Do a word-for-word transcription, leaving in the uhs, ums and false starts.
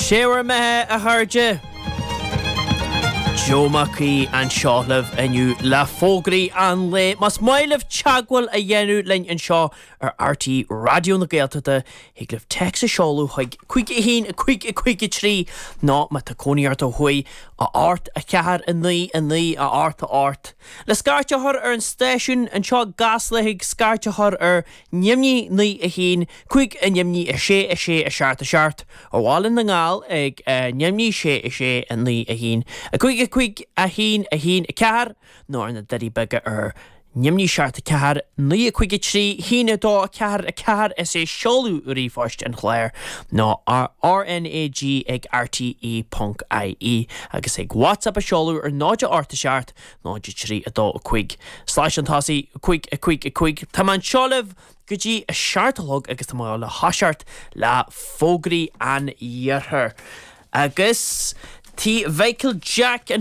Sé bhur mbeatha a chairde. Joe Mac Aoidh anseo libh inniu le fógraí an lae. Más maith libh teagmháil a dhéanamh linn anseo ar RTÉ Raidió na Gaeltachta thig libh téacs a sheoladh chuig cúig a haon a cúig a cúig a trí nó má tá cónaí ort ó thuaidh a hocht a ceathair a naoi a naoi a hocht a hocht. Le scairt a chur ar an stáisiún anseo i gCasla thig scairt a chur ar neamhní naoi a haon cúig a neamhní a sé a sé a seacht a seacht ar Bhaile na nGall ag neamhní sé a sé a naoi a haon a cúig a cúig a haon a haon a ceathair nó ar na Doirí Beaga ar neamhní seacht a ceathair naoi a cúig a trí haon a dó a ceathair a ceathair is é seoladh ríomhphoist an chláir ná RNAG ag RTE ponc IE agus ag WhatsApp a seoladh ar náid a hocht a seacht náid a trí a dó a cúig. Slais an tosaigh cúig a cúig a cúig Tá mé anseo libh go dtí a seacht a chlog agus tá mé le toiseacht le fógraí an iarthair. Agus tí Michael Jack an